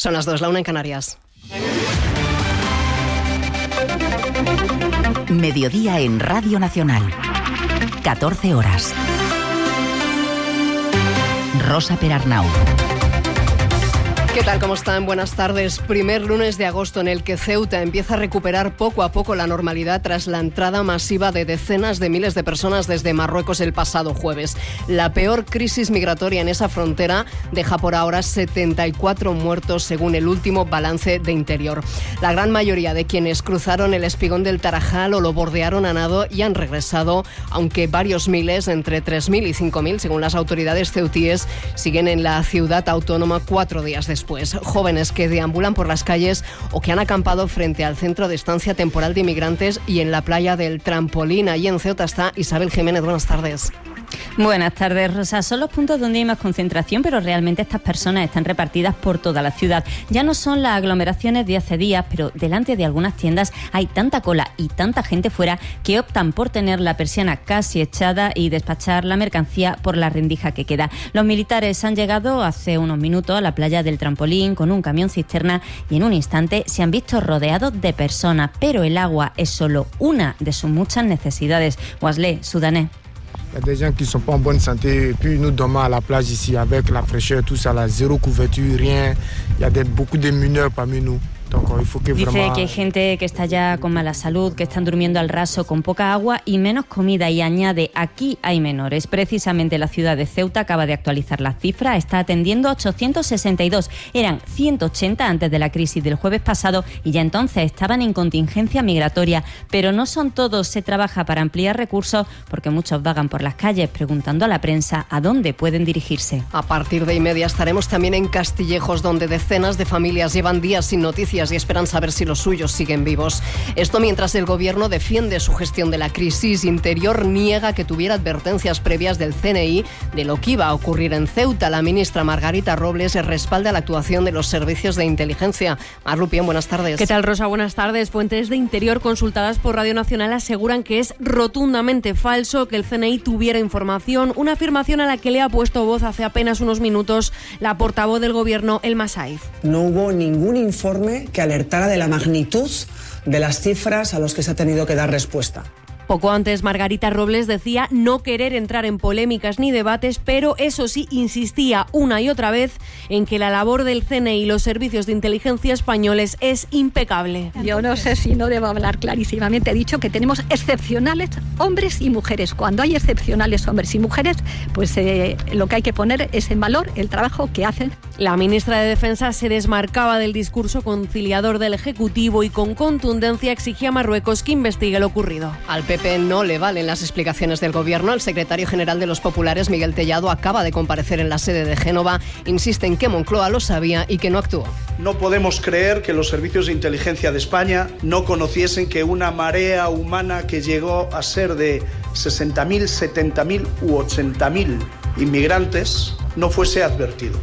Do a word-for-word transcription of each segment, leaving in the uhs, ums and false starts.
Son las dos, la una en Canarias. Mediodía en Radio Nacional. catorce horas. Rosa Perarnau. ¿Qué tal? ¿Cómo están? Buenas tardes. Primer lunes de agosto en el que Ceuta empieza a recuperar poco a poco la normalidad tras la entrada masiva de decenas de miles de personas desde Marruecos el pasado jueves. La peor crisis migratoria en esa frontera deja por ahora setenta y cuatro muertos según el último balance de Interior. La gran mayoría de quienes cruzaron el espigón del Tarajal o lo bordearon a nado y han regresado, aunque varios miles, entre tres mil y cinco mil, según las autoridades ceutíes, siguen en la ciudad autónoma cuatro días después. Pues jóvenes que deambulan por las calles o que han acampado frente al centro de estancia temporal de inmigrantes y en la playa del Trampolín. Allí en Ceuta está Isabel Jiménez. Buenas tardes. Buenas tardes, Rosa. Son los puntos donde hay más concentración, pero realmente estas personas están repartidas por toda la ciudad. Ya no son las aglomeraciones de hace días, pero delante de algunas tiendas hay tanta cola y tanta gente fuera que optan por tener la persiana casi echada y despachar la mercancía por la rendija que queda. Los militares han llegado hace unos minutos a la playa del Trampolín con un camión cisterna y en un instante se han visto rodeados de personas, pero el agua es solo una de sus muchas necesidades. Wesley, sudanés. Il y a des gens qui ne sont pas en bonne santé et puis nous dormons à la plage ici avec la fraîcheur, tout ça, là, zéro couverture, rien. Il y a des, beaucoup de mineurs parmi nous. Dice que hay gente que está ya con mala salud, que están durmiendo al raso con poca agua y menos comida, y añade, aquí hay menores. Precisamente la ciudad de Ceuta acaba de actualizar las cifras, está atendiendo a ochocientos sesenta y dos, eran ciento ochenta antes de la crisis del jueves pasado y ya entonces estaban en contingencia migratoria. Pero no son todos, se trabaja para ampliar recursos porque muchos vagan por las calles preguntando a la prensa a dónde pueden dirigirse. A partir de y media estaremos también en Castillejos, donde decenas de familias llevan días sin noticias y esperan saber si los suyos siguen vivos. Esto mientras el gobierno defiende su gestión de la crisis. Interior niega que tuviera advertencias previas del C N I de lo que iba a ocurrir en Ceuta. La ministra Margarita Robles respalda la actuación de los servicios de inteligencia. Mar Lupión, buenas tardes. ¿Qué tal, Rosa? Buenas tardes. Fuentes de Interior consultadas por Radio Nacional aseguran que es rotundamente falso que el C N I tuviera información, una afirmación a la que le ha puesto voz hace apenas unos minutos la portavoz del gobierno, Elma Saiz. No hubo ningún informe que alertara de la magnitud de las cifras a los que se ha tenido que dar respuesta. Poco antes, Margarita Robles decía no querer entrar en polémicas ni debates, pero eso sí, insistía una y otra vez en que la labor del C N I y los servicios de inteligencia españoles es impecable. Yo no sé si no debo hablar clarísimamente. He dicho que tenemos excepcionales hombres y mujeres. Cuando hay excepcionales hombres y mujeres, pues eh, lo que hay que poner es en valor el trabajo que hacen. La ministra de Defensa se desmarcaba del discurso conciliador del Ejecutivo y con contundencia exigía a Marruecos que investigue lo ocurrido. Al P P no le valen las explicaciones del gobierno. El secretario general de los populares, Miguel Tellado, acaba de comparecer en la sede de Génova. Insiste en que Moncloa lo sabía y que no actuó. No podemos creer que los servicios de inteligencia de España no conociesen que una marea humana que llegó a ser de sesenta mil, setenta mil u ochenta mil inmigrantes no fuese advertido.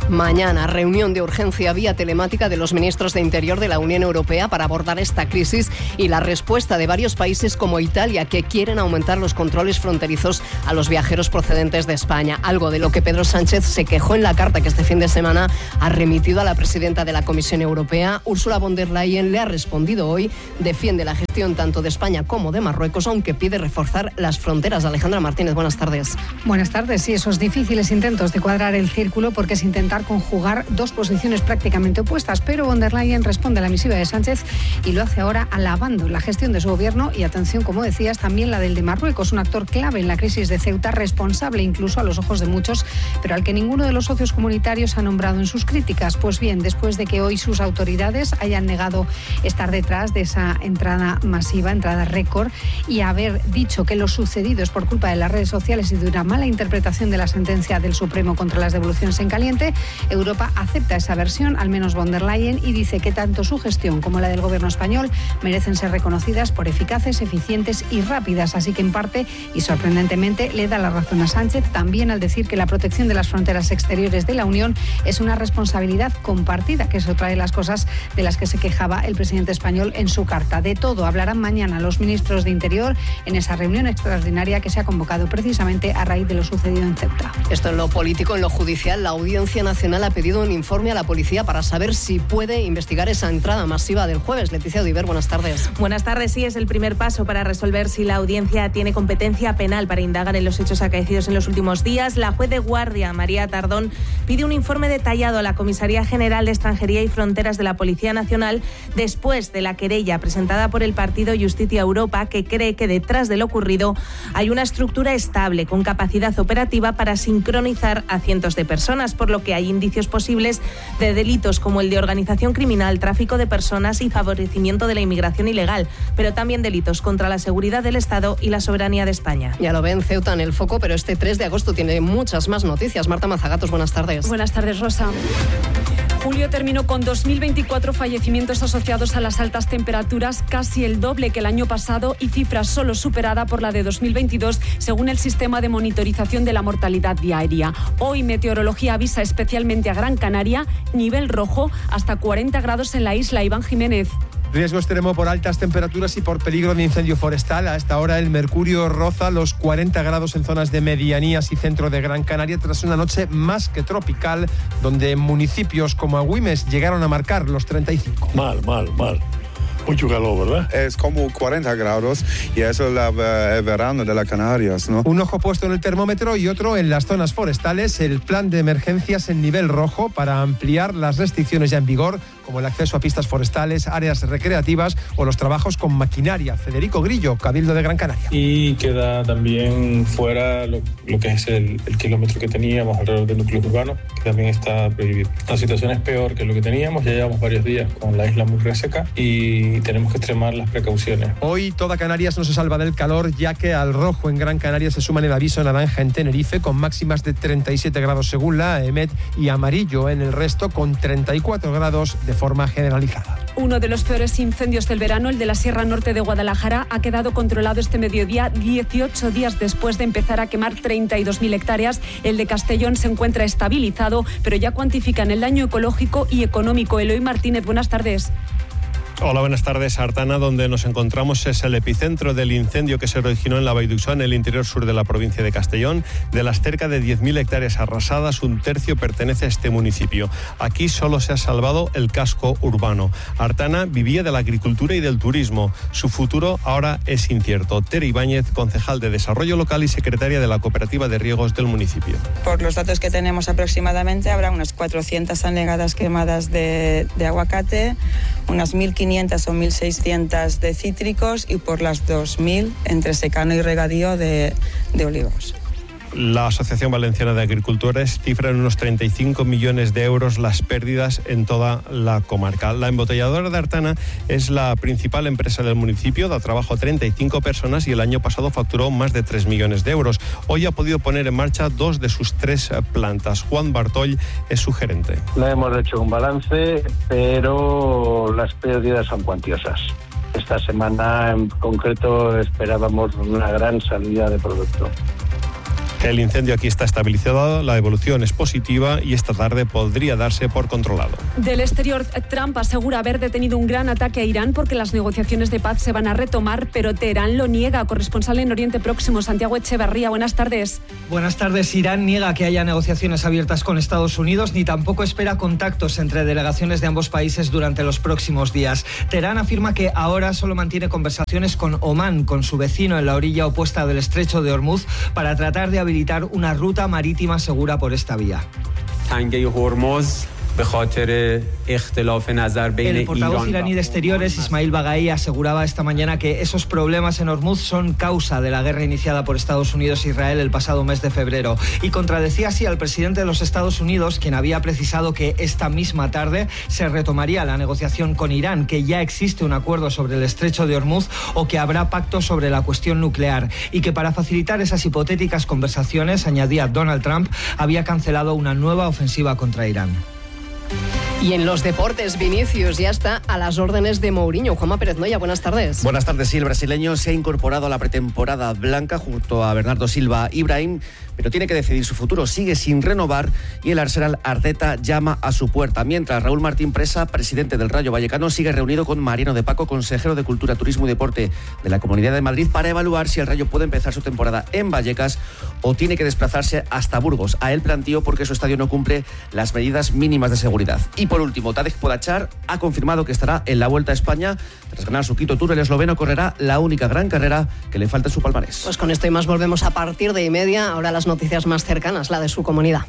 Mañana, reunión de urgencia vía telemática de los ministros de Interior de la Unión Europea para abordar esta crisis y la respuesta de varios países como Italia, que quieren aumentar los controles fronterizos a los viajeros procedentes de España. Algo de lo que Pedro Sánchez se quejó en la carta que este fin de semana ha remitido a la presidenta de la Comisión Europea. Ursula von der Leyen le ha respondido hoy, defiende la gestión tanto de España como de Marruecos, aunque pide reforzar las fronteras. Alejandra Martínez, buenas tardes. Buenas tardes. Sí, esos difíciles intentos de cuadrar el círculo porque es intentar conjugar dos posiciones prácticamente opuestas, pero von der Leyen responde a la misiva de Sánchez y lo hace ahora alabando la gestión de su gobierno y, atención, como decías, también la del de Marruecos, un actor clave en la crisis de Ceuta, responsable incluso a los ojos de muchos, pero al que ninguno de los socios comunitarios ha nombrado en sus críticas. Pues bien, después de que hoy sus autoridades hayan negado estar detrás de esa entrada masiva, entrada récord, y haber dicho que lo sucedido es por culpa de las redes sociales y de una mala interpretación de la sentencia del Supremo contra las devoluciones en caliente, Europa acepta esa versión, al menos von der Leyen, y dice que tanto su gestión como la del gobierno español merecen ser reconocidas por eficaces, eficientes y rápidas. Así que, en parte, y sorprendentemente, le da la razón a Sánchez también al decir que la protección de las fronteras exteriores de la Unión es una responsabilidad compartida, que es otra de las cosas de las que se quejaba el presidente español en su carta. De todo hablarán mañana los ministros de Interior en esa reunión extraordinaria que se ha convocado precisamente a raíz de lo sucedido en Ceuta. Esto en lo político. En lo judicial, la Audiencia Nacional Nacional ha pedido un informe a la policía para saber si puede investigar esa entrada masiva del jueves. Leticia Odiver, buenas tardes. Buenas tardes. Sí, es el primer paso para resolver si la audiencia tiene competencia penal para indagar en los hechos acaecidos en los últimos días. La juez de guardia, María Tardón, pide un informe detallado a la Comisaría General de Extranjería y Fronteras de la Policía Nacional después de la querella presentada por el partido Justicia Europa, que cree que detrás de lo ocurrido hay una estructura estable con capacidad operativa para sincronizar a cientos de personas, por lo que hay indicios posibles de delitos como el de organización criminal, tráfico de personas y favorecimiento de la inmigración ilegal, pero también delitos contra la seguridad del Estado y la soberanía de España. Ya lo ven, Ceuta en el foco, pero este tres de agosto tiene muchas más noticias. Marta Mazagatos, buenas tardes. Buenas tardes, Rosa. Julio terminó con dos mil veinticuatro fallecimientos asociados a las altas temperaturas, casi el doble que el año pasado y cifra solo superada por la de dos mil veintidós, según el sistema de monitorización de la mortalidad diaria. Hoy Meteorología avisa especialmente a Gran Canaria, nivel rojo, hasta cuarenta grados en la isla. Iván Jiménez. Riesgo extremo por altas temperaturas y por peligro de incendio forestal. A esta hora el mercurio roza los cuarenta grados en zonas de medianías y centro de Gran Canaria tras una noche más que tropical, donde municipios como Agüimes llegaron a marcar los treinta y cinco. Mal, mal, mal. Mucho calor, ¿verdad? Es como cuarenta grados y eso es la, el verano de las Canarias, ¿no? Un ojo puesto en el termómetro y otro en las zonas forestales. El plan de emergencias en nivel rojo para ampliar las restricciones ya en vigor, como el acceso a pistas forestales, áreas recreativas o los trabajos con maquinaria. Federico Grillo, Cabildo de Gran Canaria. Y queda también fuera lo, lo que es el, el kilómetro que teníamos alrededor del núcleo urbano, que también está prohibido. La situación es peor que lo que teníamos, ya llevamos varios días con la isla muy reseca y tenemos que extremar las precauciones. Hoy toda Canarias no se salva del calor, ya que al rojo en Gran Canaria se suman el aviso naranja en Tenerife, con máximas de treinta y siete grados según la A E M E T, y amarillo en el resto, con treinta y cuatro grados de forma generalizada. Uno de los peores incendios del verano, el de la Sierra Norte de Guadalajara, ha quedado controlado este mediodía, dieciocho días después de empezar a quemar treinta y dos mil hectáreas. El de Castellón se encuentra estabilizado, pero ya cuantifican el daño ecológico y económico. Eloy Martínez, buenas tardes. Hola, buenas tardes. Artana, donde nos encontramos, es el epicentro del incendio que se originó en la Vall d'Uixó, en el interior sur de la provincia de Castellón. De las cerca de diez mil hectáreas arrasadas, un tercio pertenece a este municipio. Aquí solo se ha salvado el casco urbano. Artana vivía de la agricultura y del turismo. Su futuro ahora es incierto. Tere Ibáñez, concejal de Desarrollo Local y secretaria de la Cooperativa de Riegos del municipio. Por los datos que tenemos aproximadamente, habrá unas cuatrocientas anegadas quemadas de, de aguacate, unas mil quinientas o mil seiscientas de cítricos y por las dos mil entre secano y regadío de, de olivos. La Asociación Valenciana de Agricultores cifra en unos treinta y cinco millones de euros las pérdidas en toda la comarca. La embotelladora de Artana es la principal empresa del municipio, da trabajo a treinta y cinco personas y el año pasado facturó más de tres millones de euros. Hoy ha podido poner en marcha dos de sus tres plantas. Juan Bartoll es su gerente. No hemos hecho un balance, pero las pérdidas son cuantiosas. Esta semana en concreto esperábamos una gran salida de producto. El incendio aquí está estabilizado, la evolución es positiva y esta tarde podría darse por controlado. Del exterior, Trump asegura haber detenido un gran ataque a Irán porque las negociaciones de paz se van a retomar, pero Teherán lo niega. Corresponsal en Oriente Próximo, Santiago Echeverría, buenas tardes. Buenas tardes. Irán niega que haya negociaciones abiertas con Estados Unidos ni tampoco espera contactos entre delegaciones de ambos países durante los próximos días. Teherán afirma que ahora solo mantiene conversaciones con Omán, con su vecino en la orilla opuesta del estrecho de Hormuz, para tratar de habilitar una ruta marítima segura por esta vía. El portavoz iraní de Exteriores, Ismail Baghai, aseguraba esta mañana que esos problemas en Hormuz son causa de la guerra iniciada por Estados Unidos e Israel el pasado mes de febrero, y contradecía así al presidente de los Estados Unidos, quien había precisado que esta misma tarde se retomaría la negociación con Irán, que ya existe un acuerdo sobre el estrecho de Hormuz o que habrá pacto sobre la cuestión nuclear, y que para facilitar esas hipotéticas conversaciones, añadía Donald Trump, había cancelado una nueva ofensiva contra Irán. Y en los deportes, Vinicius ya está a las órdenes de Mourinho. Juanma Pérez Noya, buenas tardes. Buenas tardes, sí, el brasileño se ha incorporado a la pretemporada blanca junto a Bernardo Silva y Brahim, pero tiene que decidir su futuro. Sigue sin renovar y el Arsenal Arteta llama a su puerta. Mientras, Raúl Martín Presa, presidente del Rayo Vallecano, sigue reunido con Mariano de Paco, consejero de Cultura, Turismo y Deporte de la Comunidad de Madrid, para evaluar si el Rayo puede empezar su temporada en Vallecas o tiene que desplazarse hasta Burgos. A él planteó porque su estadio no cumple las medidas mínimas de seguridad. Y por último, Tadej Pogačar ha confirmado que estará en la Vuelta a España. Tras ganar su quinto Tour, el esloveno correrá la única gran carrera que le falta en su palmarés. Pues con esto y más volvemos a partir de y media. Ahora las noticias más cercanas, la de su comunidad.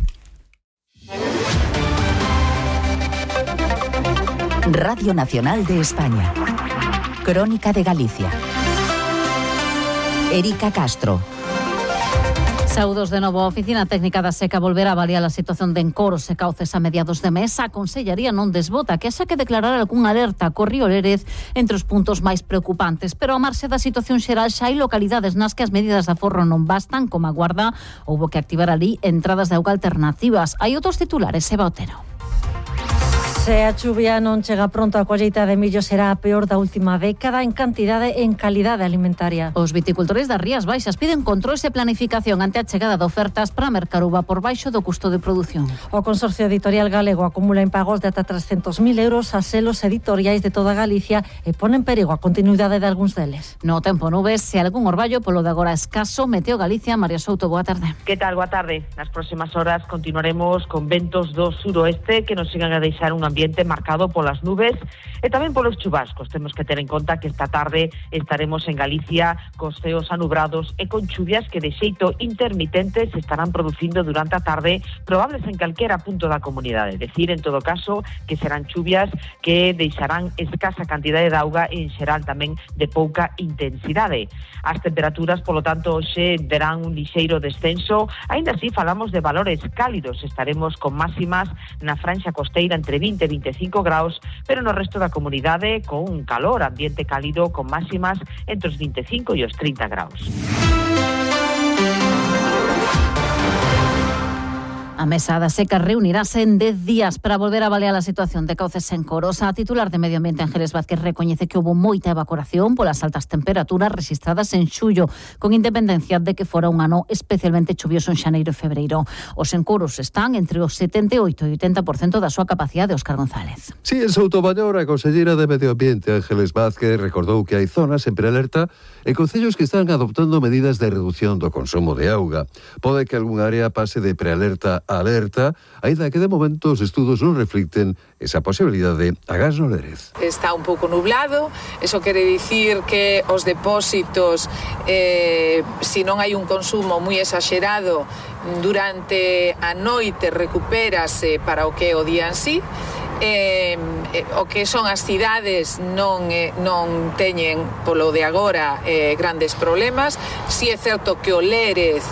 Radio Nacional de España. Crónica de Galicia. Erika Castro. Saúdos de novo. A Oficina Técnica da Seca volverá a avaliar a situación de encoros e cauces a mediados de mes. A Consellería non desbota que haxa que declarar algún alerta co río Lérez entre os puntos máis preocupantes. Pero a marxe da situación xeral xa hai localidades nas que as medidas de aforro non bastan, como a Guarda. Houbo que activar ali entradas de auga alternativas. Hai outros titulares, Eva Otero. Se a chuvia non chega pronto, a colleita de millo será a peor da última década en cantidade e en calidade alimentaria. Os viticultores das Rías Baixas piden controles e planificación ante a chegada de ofertas para mercar uva por baixo do custo de produción. O Consorcio Editorial Galego acumula impagos de ata trescentos mil euros a selos editoriais de toda Galicia e pone en perigo a continuidade de algúns deles. No tempo nubes, se algún orballo polo de agora escaso. Meteo Galicia, María Souto, boa tarde. Que tal, boa tarde. Nas próximas horas continuaremos con ventos do suroeste que nos sigan a deixar un ambiente marcado polas nubes e tamén polos chubascos. Temos que ter en conta que esta tarde estaremos en Galicia cos ceos anubrados e con chuvias que de xeito intermitente se estarán producindo durante a tarde, probables en calquera punto da comunidade. Decir, en todo caso, que serán chuvias que deixarán escasa cantidade de auga e en xeral tamén de pouca intensidade. As temperaturas, polo tanto, hoxe verán un lixeiro descenso. Aínda así, falamos de valores cálidos. Estaremos con máximas na franxa costeira entre vinte e vinte e cinco graus, pero no resto da comunidade con un calor, ambiente cálido con máximas entre os vinte e cinco e os trinta graus. A Mesa da Seca reunirase en dez días para volver a avaliar a situación de cauces en Coros. A titular de Medio Ambiente, Ángeles Vázquez, recoñece que houbo moita evaporación polas altas temperaturas registradas en xullo, con independencia de que fora un ano especialmente chuvioso en xaneiro e febreiro. Os encoros están entre os setenta e oito e oitenta por cento da súa capacidade. Óscar González. Sí, en Soutomaior, a conselleira de Medio Ambiente, Ángeles Vázquez, recordou que hai zonas en prealerta e concellos que están adoptando medidas de reducción do consumo de auga. Pode que algún área pase de prealerta a alerta, aínda que de momento os estudos non reflicten esa posibilidade a gas no Lérez. Está un pouco nublado, eso quere dicir que os depósitos, eh, se non hai un consumo moi exagerado durante a noite, recupérase para o que é o día en sí. Eh, eh, o que son as cidades non, eh, non teñen polo de agora eh, grandes problemas. Si é certo que o Lérez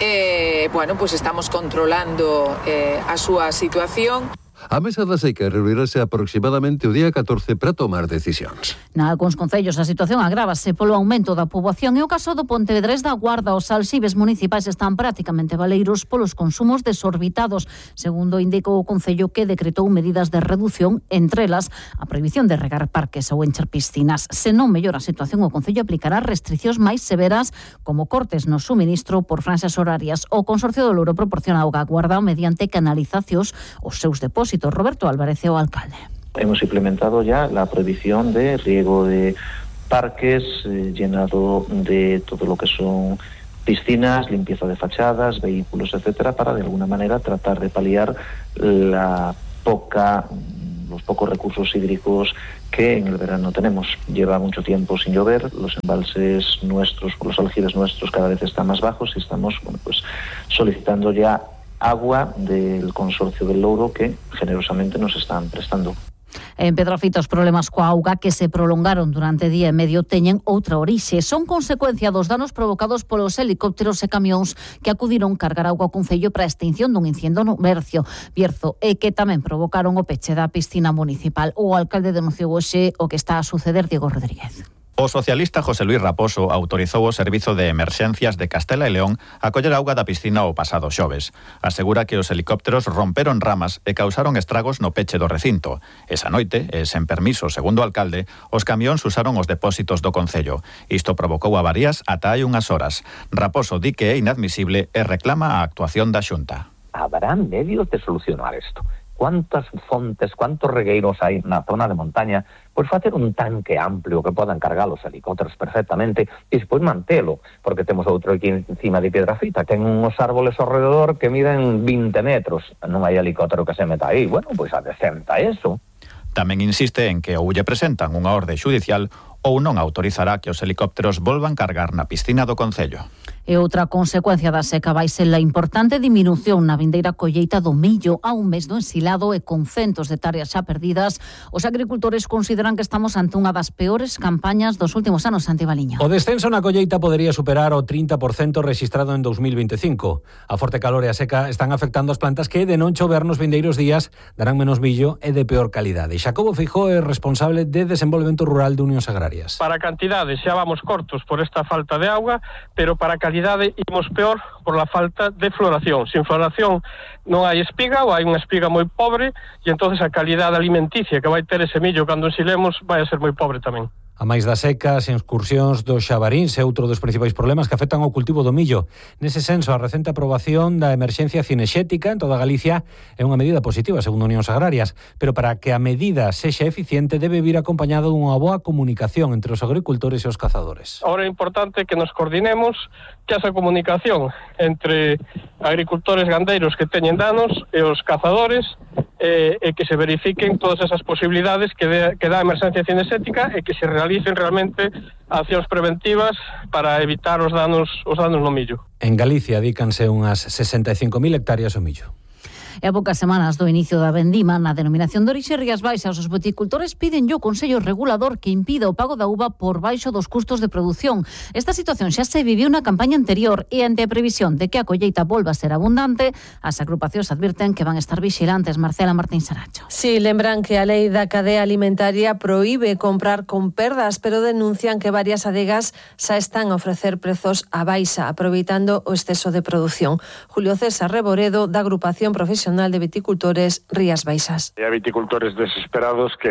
eh, bueno, pues estamos controlando eh, a súa situación. A Mesa da Seca reunirase aproximadamente o día catorce para tomar decisións. Nalgúns concellos a situación agrávase polo aumento da poboación e o caso do Pontevedrés da Guarda. Os alxibes municipais están prácticamente baleiros polos consumos desorbitados, segundo indicou o concello, que decretou medidas de reducción, entre elas a prohibición de regar parques ou encher piscinas. Se non mellora a situación, o concello aplicará restriccións máis severas, como cortes no suministro por franxas horarias. O Consorcio do Louro proporciona auga á Guarda mediante canalizacións os seus depósitos. Roberto Álvarez, o alcalde. Hemos implementado ya la prohibición de riego de parques, eh, llenado de todo lo que son piscinas, limpieza de fachadas, vehículos, etcétera, para de alguna manera tratar de paliar la poca, los pocos recursos hídricos que en el verano tenemos. Lleva mucho tiempo sin llover, los embalses nuestros, los aljibes nuestros cada vez están más bajos y estamos, bueno, pues solicitando ya agua del Consorcio del Louro que generosamente nos están prestando. En Pedrafita, os problemas coa auga que se prolongaron durante día e medio teñen outra orixe. Son consecuencia dos danos provocados polos helicópteros e camións que acudiron cargar auga ao concello para a extinción dun incendio no Bercio, Bierzo, e que tamén provocaron o peche da piscina municipal. O alcalde denunciou hoxe o que está a suceder, Diego Rodríguez. O socialista José Luís Raposo autorizou o Servizo de Emerxencias de Castela e León a coller auga da piscina o pasado xoves. Asegura que os helicópteros romperon ramas e causaron estragos no peche do recinto. Esa noite, e sen permiso, segundo o alcalde, os camións usaron os depósitos do concello. Isto provocou avarías ata hai unhas horas. Raposo di que é inadmisible e reclama a actuación da Xunta. Habrá medios de solucionar isto. Cuántas fontes, cuántos regueiros hai na zona de montaña, pois facer un tanque amplio que podan cargar os helicópteros perfectamente e despois mantelo, porque temos outro aquí encima de Piedrafita, ten uns árboles ao redor que miden vinte metros, non hai helicóptero que se meta aí, bueno, pois adecenta eso. Tamén insiste en que ou lle presentan unha orde xudicial ou non autorizará que os helicópteros volvan cargar na piscina do concello. E outra consecuencia da seca vai ser a importante diminución na vindeira colleita do millo a un mes do ensilado e con centos de hectáreas xa perdidas. Os agricultores consideran que estamos ante unha das peores campañas dos últimos anos, Santi Baliño. O descenso na colleita podería superar o trinta por cento rexistrado en dos mil veinticinco. A forte calor e a seca están afectando as plantas que, de non chover nos vindeiros días, darán menos millo e de peor calidade. Xacobo Feijó é responsable de Desenvolvemento Rural de Unións Agrarias. Para cantidade xa vamos cortos por esta falta de auga, pero para calidade imos peor por la falta de floración. Sin floración non hai espiga ou hai unha espiga moi pobre e entonces a calidade alimenticia que vai ter ese millo cando ensilemos vai a ser moi pobre tamén. A máis das secas e excursións dos xabaríns é outro dos principais problemas que afectan ao cultivo do millo. Nese senso, a recente aprobación da emerxencia cinexética en toda Galicia é unha medida positiva, segundo Unións Agrarias, pero para que a medida sexa eficiente debe vir acompañada dunha boa comunicación entre os agricultores e os cazadores. Ahora é importante que nos coordinemos, que esa comunicación entre agricultores gandeiros que teñen danos e os cazadores e, e que se verifiquen todas esas posibilidades que, de, que dá a emerxencia cinexética e que se realicen realmente accións preventivas para evitar os danos os danos no millo. En Galicia dícanse unhas sesenta e cinco mil hectáreas ao millo. E a poucas semanas do inicio da vendima na denominación de orixe Rías Baixas, os viticultores piden o Consello Regulador que impida o pago da uva por baixo dos custos de produción. Esta situación xa se viviu na campaña anterior e ante a previsión de que a colleita volva a ser abundante, as agrupacións advirten que van a estar vixilantes. Marcela Martín Saracho. Sí, lembran que a lei da cadea alimentaria proíbe comprar con perdas, pero denuncian que varias adegas xa están a ofrecer prezos a baixa, aproveitando o exceso de produción. Julio César Reboredo, da agrupación profesional de Viticultores Rías Baixas. Hai viticultores desesperados que,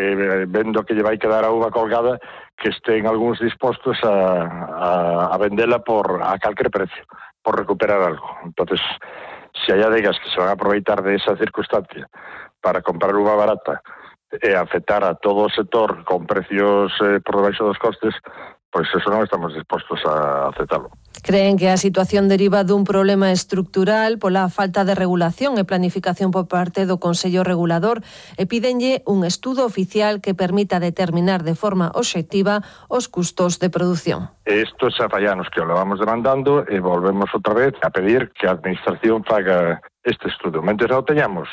vendo que lle vai quedar a uva colgada, que estén algúns dispostos a, a, a vendela por a calquer precio, por recuperar algo. Entonces, se hai adegas que se van a aproveitar de esa circunstancia para comprar uva barata e afectar a todo o sector con precios eh, por debaixo dos costes, pois eso non estamos dispostos a aceptarlo. Creen que a situación deriva dun problema estructural pola falta de regulación e planificación por parte do Consello Regulador e pídenlle un estudo oficial que permita determinar de forma obxectiva os custos de produción. Isto xa fallanos que o levamos demandando e volvemos outra vez a pedir que a Administración faga este estudo. Mentre non teñamos,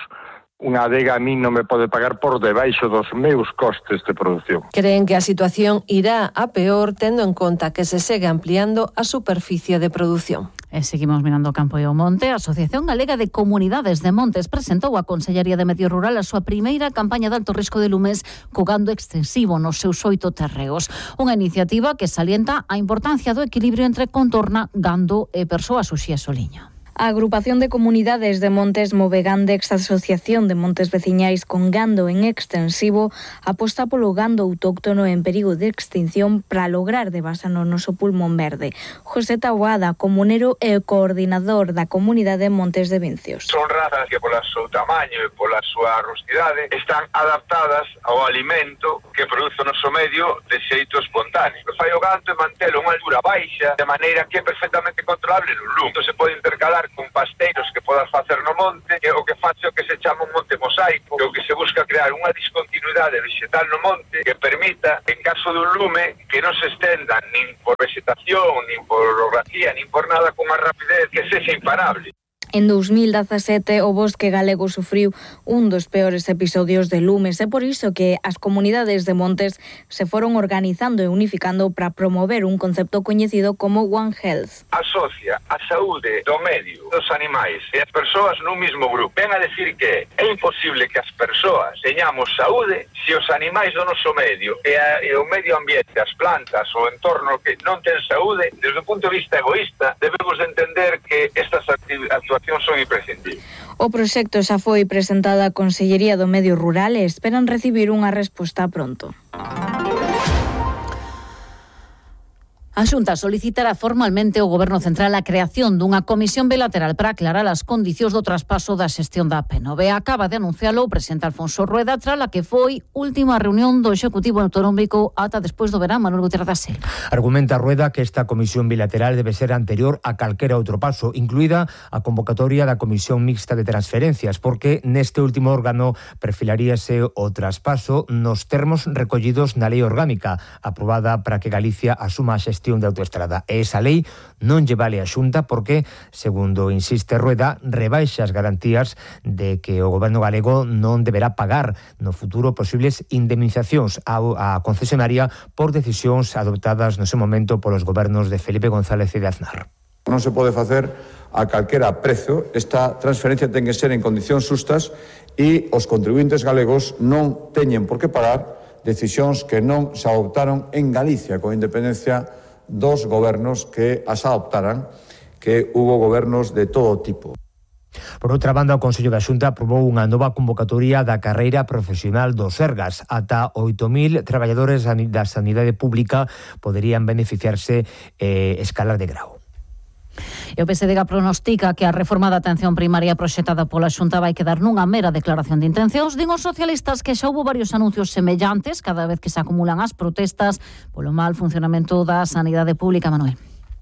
unha adega a mí non me pode pagar por debaixo dos meus costes de produción. Creen que a situación irá a peor tendo en conta que se segue ampliando a superficie de produción. E seguimos mirando o campo e o monte. A Asociación Galega de Comunidades de Montes presentou a Consellería de Medio Rural a súa primeira campaña de alto risco de lumes co gando extensivo nos seus oito terreos. Unha iniciativa que salienta a importancia do equilibrio entre contorna, gando e persoas uxías o liño. A Agrupación de Comunidades de Montes Movegandex, Asociación de Montes Veciñais con gando en extensivo, aposta polo gando autóctono en perigo de extinción para lograr devasar no noso pulmón verde. José Taboada, comunero e coordinador da Comunidade Montes de Vincios. Son razas que pola seu tamaño e pola súa rustidade están adaptadas ao alimento que produce o noso medio de xeito espontáneo. O fai o gando e mantelo a unha altura baixa de maneira que é perfectamente controlable no lume. Entón se pode intercalar con pasteiros que podas facer no monte, que o que face o que se chama un monte mosaico, que o que se busca crear unha discontinuidade vegetal no monte que permita, en caso dun lume, que non se estenda nin por vegetación, nin por orografía, nin por nada con unha rapidez que sexa imparable. En dos mil dezasete o bosque galego sufriu un dos peores episodios de lumes. É por iso que as comunidades de montes se foron organizando e unificando para promover un concepto coñecido como One Health. Asocia a saúde do medio, dos animais e as persoas nun mismo grupo. Ven a decir que é imposible que as persoas teñamos saúde se os animais do noso medio e, a, e o medio ambiente, as plantas, o entorno que non ten saúde. Desde o punto de vista egoísta, debemos de entender que estas actuacións son imprescindibles. O proxecto xa foi presentado á Consellería do Medio Rural e esperan recibir unha resposta pronto. A Xunta solicitará formalmente ao Goberno Central a creación dunha comisión bilateral para aclarar as condicións do traspaso da xestión da P N V. Acaba de anuncialo o presidente Alfonso Rueda tras a que foi última reunión do Executivo Autonómico ata despois do verán. Manuel Gutiérrez da Silva. Argumenta Rueda que esta comisión bilateral debe ser anterior a calquera outro paso, incluída a convocatoria da Comisión Mixta de Transferencias, porque neste último órgano perfilaríase o traspaso nos termos recollidos na Lei Orgánica aprobada para que Galicia asuma a xestión de autoestrada. E esa lei non lle vale a Xunta porque, segundo insiste Rueda, rebaixa as garantías de que o Goberno galego non deberá pagar no futuro posibles indemnizacións á concesionaria por decisións adoptadas no seu momento polos gobernos de Felipe González e de Aznar. Non se pode facer a calquera prezo. Esta transferencia ten que ser en condicións xustas e os contribuintes galegos non teñen por que pagar decisións que non se adoptaron en Galicia, con independencia dos gobernos que as adoptaran, que hubo gobernos de todo tipo. Por outra banda, o Consello da Xunta aprobou unha nova convocatoria da carreira profesional dos Sergas. Ata oito mil traballadores da sanidade pública poderían beneficiarse e escalar de grau. E o P S D G pronostica que a reforma da atención primaria proxectada pola Xunta vai quedar nunha mera declaración de intencións. Din os socialistas que xa houbo varios anuncios semellantes cada vez que se acumulan as protestas polo mal funcionamento da sanidade pública. Manuel.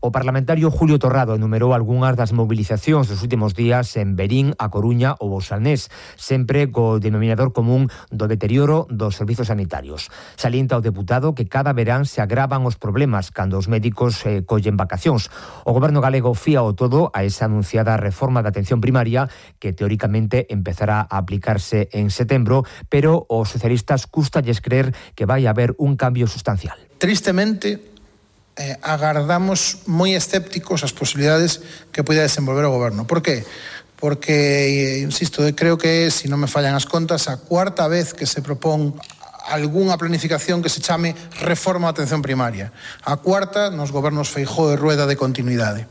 O parlamentario Julio Torrado enumerou algunhas das mobilizacións dos últimos días en Verín, A Coruña ou Bousalnés, sempre co denominador común do deterioro dos servizos sanitarios. Salienta o deputado que cada verán se agravan os problemas cando os médicos eh, collen vacacións. O Goberno galego fía o todo a esa anunciada reforma da atención primaria que teóricamente empezará a aplicarse en setembro, pero os socialistas cústalles creer que vai haber un cambio sustancial. Tristemente, Eh, agardamos moi escépticos as posibilidades que poida desenvolver o Goberno. Por qué? Porque, eh, insisto, creo que é, se non me fallan as contas, a cuarta vez que se propón algunha planificación que se chame reforma da atención primaria. A cuarta nos gobernos Feijóo e Rueda de continuidade.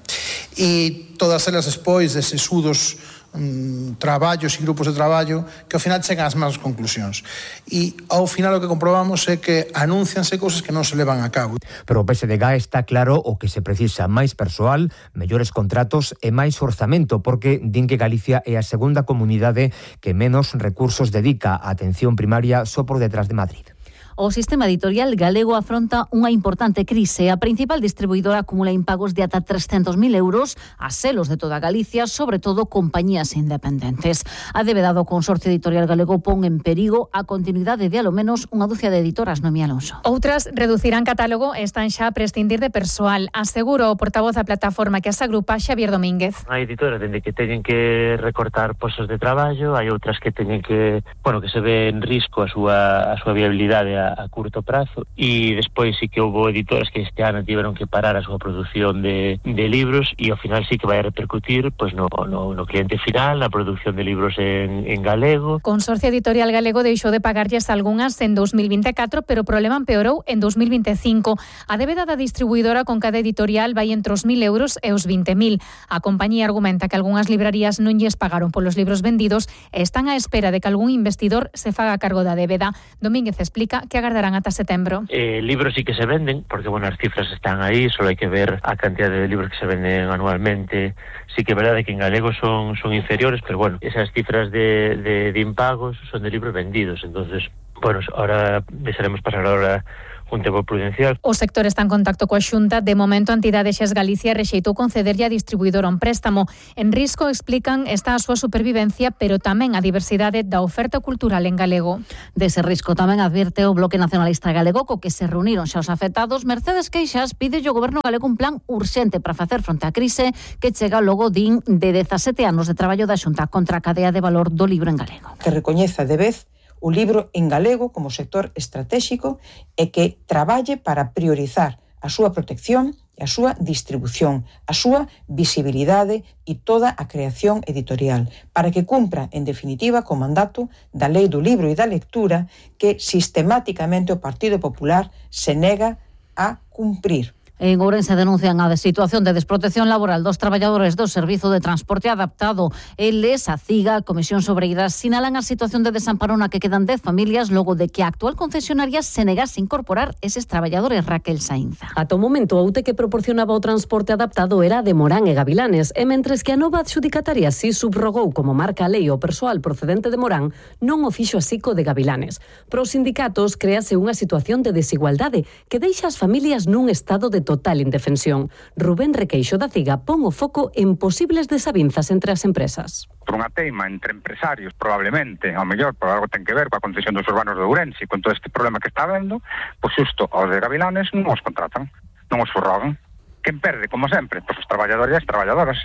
E todas elas despois de sesudos um, traballos e grupos de traballo que ao final chegan ás mesmas conclusións. E ao final o que comprobamos é que anuncianse cousas que non se levan a cabo. Pero o P S D G está claro o que se precisa: máis persoal, mellores contratos e máis orzamento, porque din que Galicia é a segunda comunidade que menos recursos dedica á atención primaria só por detrás de Madrid. O sistema editorial galego afronta unha importante crise. A principal distribuidora acumula impagos de ata trescentos mil euros a selos de toda Galicia, sobre todo compañías independentes. A débeda do Consorcio Editorial Galego pon en perigo a continuidade de alo menos unha dúcia de editoras. Noemí Alonso. Outras reducirán catálogo e están xa a prescindir de persoal, asegura o portavoz da plataforma que as agrupa, Xavier Domínguez. Hai editoras dende que teñen que recortar postos de traballo, hai outras que teñen que, bueno, que se ve en risco a súa a súa viabilidade a, a curto prazo, e despois sí que houve editoras que este ano tiveron que parar a súa produción de, de libros, e ao final sí que vai a repercutir pois no, no, no cliente final, na produción de libros en, en galego. Consorcio Editorial Galego deixou de pagarlles algunhas en dos mil vinte e catro, pero o problema empeorou en dos mil vinte e cinco. A débeda da distribuidora con cada editorial vai entre os mil euros e os vinte mil. A compañía argumenta que algunhas librarías non lles pagaron polos libros vendidos e están á espera de que algún investidor se faga cargo da débeda. Domínguez explica que agardarán ata setembro. Eh, libros sí que se venden, porque bueno, as cifras están aí, solo hai que ver a cantidad de libros que se venden anualmente. Sí que é verdade que en galego son, son inferiores, pero bueno, esas cifras de, de, de impagos son de libros vendidos, entonces Bueno, ahora deixaremos pasar ahora un tempo prudencial. O sector está en contacto coa Xunta. De momento, a entidade Xes Galicia rexeitou concederlle a distribuidora un préstamo. En risco, explican, está a súa supervivencia, pero tamén a diversidade da oferta cultural en galego. Dese risco tamén advirte o Bloque Nacionalista Galego, co que se reuniron xa os afectados. Mercedes Queixas pide ao goberno galego un plan urxente para facer fronte á crise que chega logo din de dezasete anos de traballo da Xunta contra a cadea de valor do libro en galego. Que recoñeza de vez o libro en galego como sector estratégico e que traballe para priorizar a súa protección e a súa distribución, a súa visibilidade e toda a creación editorial, para que cumpra, en definitiva, co mandato da Lei do Libro e da Lectura que sistemáticamente o Partido Popular se nega a cumprir. En Ourense denuncian a situación de desprotección laboral dos traballadores do Servizo de Transporte Adaptado. Eles, a CIGA, a Comisión Sobreira, sinalan a situación de desamparo na que quedan dez familias logo de que a actual concesionaria se negase a incorporar eses traballadores. Raquel Sainza. Ata o momento, a U T E que proporcionaba o transporte adaptado era de Morán e Gavilanes, e mentres que a nova adxudicataria si subrogou como marca a lei o persoal procedente de Morán, non o fixo así co de Gavilanes. Para os sindicatos, créase unha situación de desigualdade que deixa as familias nun estado de total indefensión. Rubén Requeixo da CIGA pon o foco en posibles desavinzas entre as empresas. Por unha teima entre empresarios, probablemente, ao mellor, por algo ten que ver coa concesión dos urbanos de Ourense, con todo este problema que está habendo, pois xusto aos de Gavilanes non os contratan, non os forrogan. Quen perde, como sempre? Pois os traballadores e as traballadoras.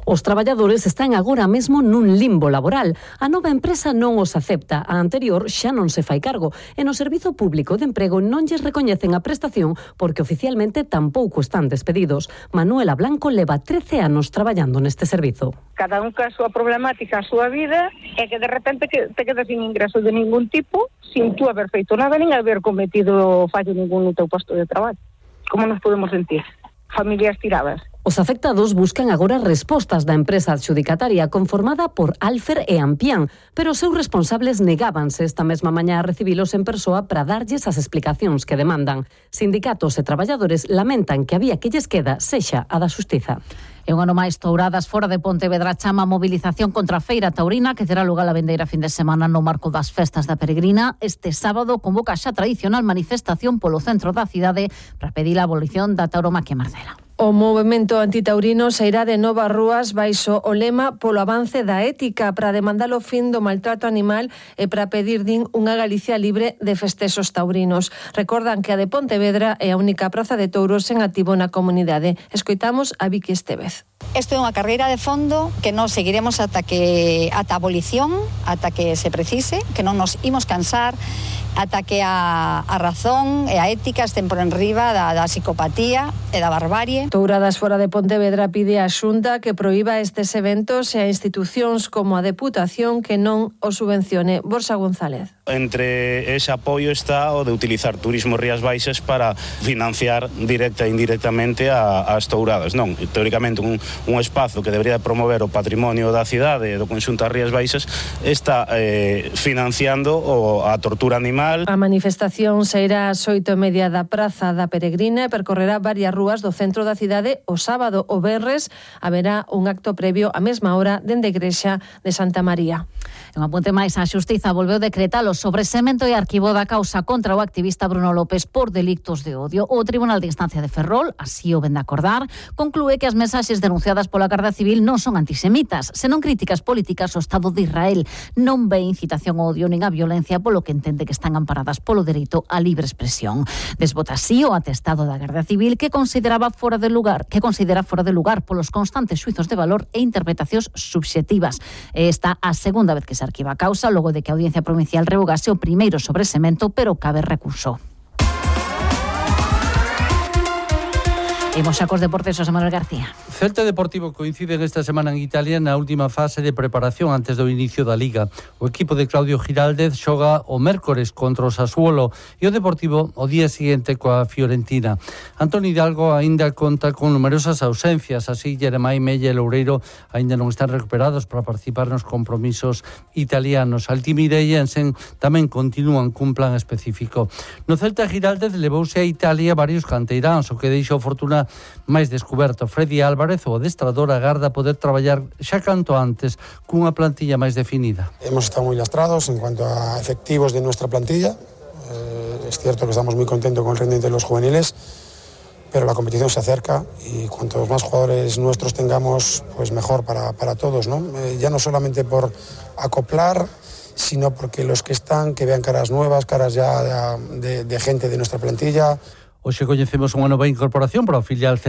Os traballadores están agora mesmo nun limbo laboral. A nova empresa non os acepta, a anterior xa non se fai cargo, e no Servizo Público de Emprego non lles recoñecen a prestación porque oficialmente tampouco están despedidos. Manuela Blanco leva trece anos traballando neste servizo. Cada un ca a súa problemática, a súa vida, e que de repente que te quedas sin ingresos de ningún tipo, sin tú haber feito nada, nin haber cometido fallo ningún no teu posto de traballo. Como nos podemos sentir? Familias tiradas. Os afectados buscan agora respostas da empresa adxudicataria conformada por Alfer e Ampián, pero os seus responsables negábanse esta mesma mañá a recibilos en persoa para darlles as explicacións que demandan. Sindicatos e traballadores lamentan que a vía que lles queda sexa a da xustiza. E un ano máis, Touradas fora de Pontevedra chama a movilización contra a Feira Taurina que terá lugar a vendeira fin de semana no marco das festas da Peregrina. Este sábado convoca xa a tradicional manifestación polo centro da cidade para pedir a abolición da tauromaquia Marcela. O movemento antitaurino sairá de novas rúas baixo o lema polo avance da ética para demandar o fin do maltrato animal e para pedir, din, unha Galicia libre de festexos taurinos. Recordan que a de Pontevedra é a única praza de touros en activo na comunidade. Escoitamos a Vicky Estevez. Isto é unha carreira de fondo que nos seguiremos ata que ata a abolición, ata que se precise, que non nos imos cansar, ata que a, a razón e a ética estén por enriba da, da psicopatía e da barbarie. Touradas fora de Pontevedra pide á Xunta que proíba estes eventos e a institucións como a Deputación que non o subvencione. Borja González. Entre ese apoio está o de utilizar Turismo Rías Baixas para financiar directa e indirectamente a, as touradas. Non, teóricamente un, un espazo que debería promover o patrimonio da cidade e do conxunto das Rías Baixas está eh, financiando o, a tortura animal. A manifestación sairá ás oito e media da Praza da Peregrina e percorrerá varias rúas do centro da cidade. O sábado o venres haberá un acto previo á mesma hora dende a Igrexa de Santa María. Un apunte máis, a Xustiza volveu decretar o sobresemento e arquivo da causa contra o activista Bruno López por delictos de odio. O Tribunal de Instancia de Ferrol, así o ven de acordar, conclúe que as mensaxes denunciadas pola Garda Civil non son antisemitas, senón críticas políticas ao Estado de Israel. Non ve incitación ao odio nin a violencia, polo que entende que están amparadas polo dereito á libre expresión. Desbota así o atestado da Garda Civil que consideraba fora de lugar, que considera fora de lugar polos constantes xuizos de valor e interpretacións subxectivas. Esta a segunda vez que se arquiva a causa logo de que a Audiencia Provincial revogase o primeiro sobresemento, pero cabe recurso. Imos xa cos deportes, José Manuel García. Celta Deportivo coincide esta semana en Italia na última fase de preparación antes do inicio da Liga. O equipo de Claudio Giraldez xoga o mércores contra o Sassuolo e o Deportivo o día seguinte coa Fiorentina. Antonio Hidalgo aínda conta con numerosas ausencias, así Jeremai Mella e Loureiro aínda non están recuperados para participar nos compromisos italianos. Altimira e Jensen tamén continúan cun plan específico. No Celta Giraldez levouse a Italia varios canteiráns, o que deixou fortuna máis descoberto. Freddy Álvarez Álvarez, o adestrador, agarda poder traballar xa canto antes cunha plantilla máis definida. Hemos estado muy lastrados en cuanto a efectivos de nuestra plantilla. Eh, es cierto que estamos muy contentos con el rendimiento de los juveniles, pero la competición se acerca y cuantos más jugadores nuestros tengamos, pues mejor para, para todos, ¿no? Eh, ya no solamente por acoplar, sino porque los que están, que vean caras nuevas, caras ya de, de, de gente de nuestra plantilla. Hoxe coñecemos unha nova incorporación para o filial